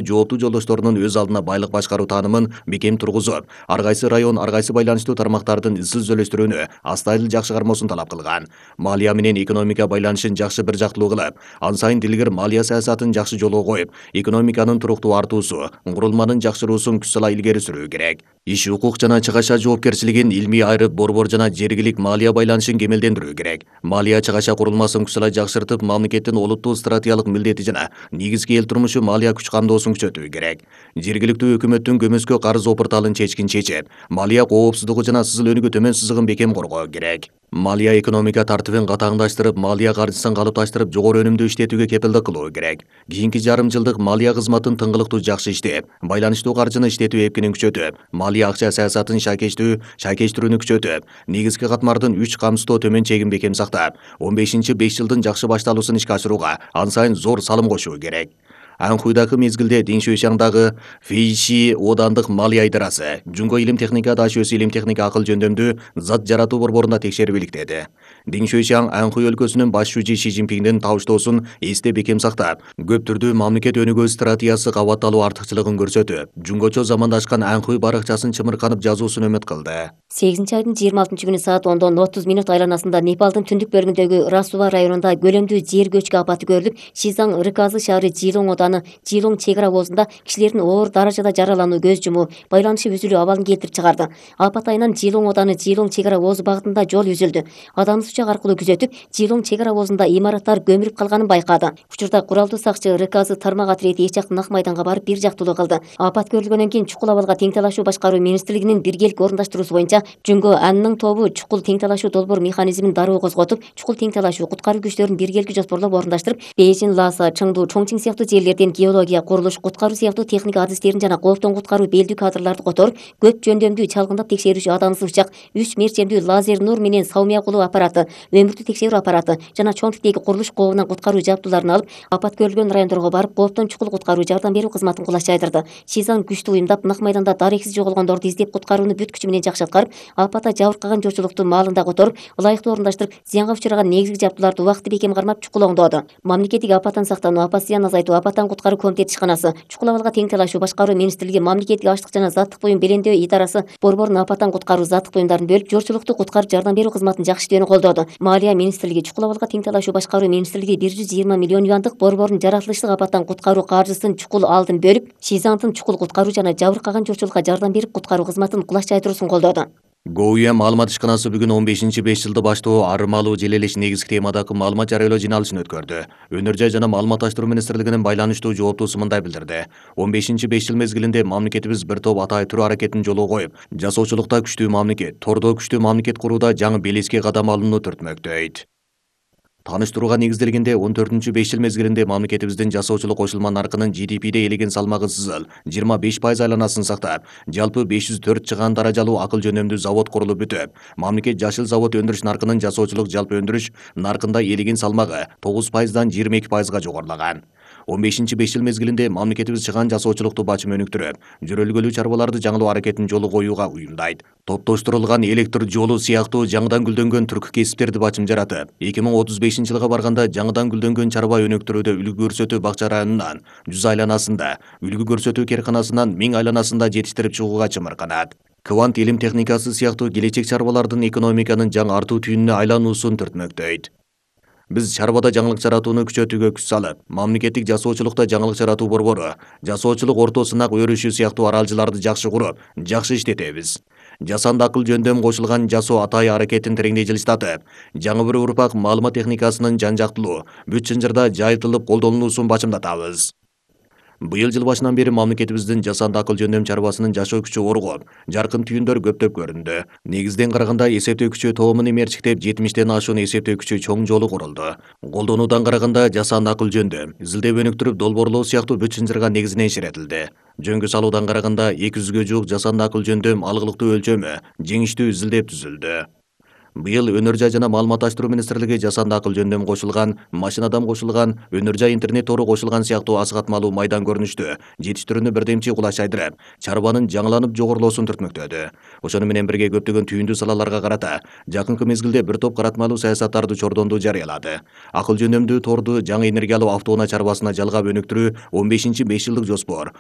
жооптуу жолдошторунун өз алдына байлык башкаруу таанымын бекем тургузуп, ар кайсы район, ар кайсы байланыштуу тармактардын ысыл сүйлөштүрүүнү астайыл жакшы кармоосун талап кылган. Малия менен экономика байланышын жакшы бир жактылуу кылып, ан сайын дилгер малия саясатын жакшы жолго коюп, экономиканын туруктуу артуусу, курулманын жакшыруусун күч сала илгери сүрүү керек. Иш укук жана ЧКШ жоопкерчилигин илмий айырып, борбор жана жергилик малия байланышын кемелдендирүү керек. Малия ЧКШ курулмасын күч сала жакшыртып, мамлекеттин олуттуу стратегиялык милдети жана негизги эл турмушу малия күч камдоосун күчөтүү керек. Жергиликтүү өкмөттүн көмөскө карыз опурталын чечкин чечип, малия коопсуздугу жана сызыл өнүгүү төмөн сызыгын бекем коргоо керек. Малия экономика тартибин катаңдаштырып, малия каржысын калыпташтырып, жогору өнүмдүү иштетүүгө кепилдик кылуу керек. Кийинки жарым жылдык малия кызматын тыңгылыктуу жакшы иштеп, байланыштуу каржыны иштетүү эпкинин күчөтүп, малия акча саясатын шайкештирүүнү күчөтүп, негизги катмардын 3 камсыздоо төмөн чегин бекем сактап, 15-5 жылдын жакшы башталуусун ишке ашырууга ан сайын зор салым кошуу керек. Анхуйдагы мезгилде Диншуйшаңдагы Фейши одандык малия идарасы Жунго илим техника дашөөсү илим техника акыл жөндөмдүү зат жаратуу борборунда текшерип иликтеди. Диншуйшаң Анхуй өлкөсүнүн баш шужи Ши Цзиньпиндин табыштоосун эсте бекем сактап, көп түрдүү мамлекет өнүгүү стратегиясы кабатталуу артыкчылыгын көрсөтүп, жунгочо замандашкан Анхуй баракчасын чымырканып жазуусун өмөт кылды. 8-айдын 26-күнү саат 10:30 айланасында Непалдын түндүк бөлүгүндөгү Расува районунда көлөмдүү жер көчкү апаты көрүлүп, Шизаң РКзы шаары Жилоң оданы Жилоң чек ара обозунда кишилердин оор даражада жаралануу, көз жумуу, байланышы үзүлүү абалын келтирип чыгарды. Апат айынан Жилоң оданы Жилоң чек ара обозу багытында жол үзүлдү. Адамдын учак аркылуу күзөтүп, Жилоң чек ара обозунда имараттар көмүлүп калганын байкады. Учурда куралдуу сакчы РКзы тармак отрети эч жактын ак майданга барып бир жактылуу кылды. Апат көрүлгөндөн кийин чукул абалга тең талашуу башкаруу министрлигинин биргелик орундаштыруусу боюнча Жунго Анның тобу чукул тең талашуу долбоор механизмин дароо козготуп, чукул тең талашуу куткаруу күчтөрүн биргеликти жоспорлоп орундаштырып, Бейжин, Ласа, Чыңду, Чоңчиң сыяктуу жерлерден геология, курулуш, куткаруу сыяктуу техника адистерин жана кооптон куткаруу белдүү кадрларды которуп, көп жөндөмдүү чалгындап текшерүүчү адамсыз учак, 3 мерчемдүү лазер нур менен саумия кылуу аппараты, өмүртүү текшерүү аппараты жана чоң типтеги курулуш кообунан куткаруу жабдууларын алып, апат көрүлгөн райондорго барып, кооптон чукул куткаруу жардам берүү кызматын кулаш жайдырды. Шизаң күчтүү уюмдап, нак майданда дарексиз жоголгондорду издеп, куткарууну бүт күчү менен жакшы аткарып, апатта жабыркаган журчулукту маалында которуп, ылайыктуу орундаштырып, зыянга учураган негизги жабдууларды убакытты бекем кармап, чукул оңдооду. Мамлекеттик апаттан сактануу, апат зыянын азайтуу, апаттан куткаруу комитети ишканасы, чукул абалга тең талашуу башкаруу министрлиги, мамлекеттик аштык жана заттык буюм белемдөө идарасы борборун апаттан куткаруу заттык буюмдарын бөлүп, журчулукту куткарып жардам берүү кызматын жакшы иштөөнү колдоду. Малия министрлиги чукул абалга тең талашуу башкаруу министрлиги 120 миллион юандык борбордун жаратылыштык апаттан куткаруу каржысын чукул алдын бөлүп, Шизаңдын чукул куткаруу жана жабыркаган журчулукка жардам берип, куткаруу кызматын кулаш жайдыруусун колдоду. Гоуя маалымат ишканасы бүгүн 15-5 жылды баштоо арымалуу желелеш негизги темадагы маалымат жарыялоо жыйналышын өткөрдү. Өнөр жай жана маалыматташтыруу министрлигинин байланыштуу жооптуусу мындай билдирди. 15-5 жыл мезгилинде мамлекетибиз бир топ атай түрүү аракетин жолго коюп, жасоочулукта күчтүү мамлекет, тордо күчтүү мамлекет курууда жаңы белеске кадам алууну түртмөктөйт. Таныштырууга негизделгенде 14-5 жыл мезгилинде мамлекетибиздин жасоочулук кошулма наркынын GDP'де элеген салмагы сызыл 25% айланасын сактап, жалпы 504 чыгаан даражалуу акыл жөнөмдүү завод курулуп бүтүп, мамлекет жашыл завод өндүрүш наркынын жасоочулук жалпы өндүрүш наркында элеген салмагы 9%дан 22%га жогорулаган. 15-5 жыл мезгилинде мамлекетибиз чыгаан жасоочулукту бачым өнүктүрүп, жүрөлгөлүү чарбаларды жаңылоо аракетин жолго коюуга уюмдайт. Топтоштурулган электр жолу сыяктуу жаңыдан гүлдөнгөн түрк кесиптерди бачым жаратып, 2035-жылга барганда жаңыдан гүлдөнгөн чарба өнүктүрүүдө үлгү көрсөтүү бакча районунан 100 айланасында, үлгү көрсөтүү керканасынан 1000 айланасында жетиштирип чыгууга чымырканат. Квант илим техникасы сыяктуу келечек чарбалардын экономиканын жаңы артуу түйүнүнө айлануусун түртмөктөйт. Биз чарбада жаңылык жаратууну күчөтүүгө күч салып, мамлекеттик жасоочулукта жаңылык жаратуу борбору, жасоочулук орто сынак өрүшү сыяктуу аралжыларды жакшы куруп, жакшы иштетебиз. Жасанды акыл жөндөм кошулган жасоо атай аракетин тереңдей жылыстатып, жаңы бир урпак маалымат техникасынын жан-жактылуу, бүт чынжырда жайылтылып колдонулуусун бачымдатабыз. Быйыл жыл башынан бери мамлекетибиздин жасанды акыл жөндөм чарбасынын жашоо күчү оргоп, жаркын түйүндөр көптөп көрүндү. Негизден караганда эсептөө күчү тоомун эмерчиктеп 70тен ашуун эсептөө күчү чоң жолу курулду. Колдонуудан караганда жасанды акыл жөндөм, изилдеп өнүктүрүп долбоорлоо сыяктуу бүт чынжырга негизинен ишаретилди. Жөнгө салуудан караганда 200ге жуук жасанды акыл жөндөм алгылыктуу өлчөмү, жеңиштүү изилдеп түзүлдү. Быйыл Өнөр жай жана маалыматташтыруу министрлиги жасанды акыл жөндөмү кошулган, машинадан кошулган, Өнөр жай интернет тору кошулган сыяктуу асыгатмалуу майдан көрүнүштү жетиштирүүнү бирдемчи кулаш айдырып, чарбанын жаңыланып жогорулоосун түртмөктөдү. Ошону менен бирге көптөгөн түйүндүү салаларга карата жакынкы мезгилде бир топ каратмалуу саясаттарды чордонду жарыялады. Акыл жөндөмдүү торду жаңы энергиялуу автоунаа чарбасына жалгап өнүктүрүү 15-5 жылдык жоспор.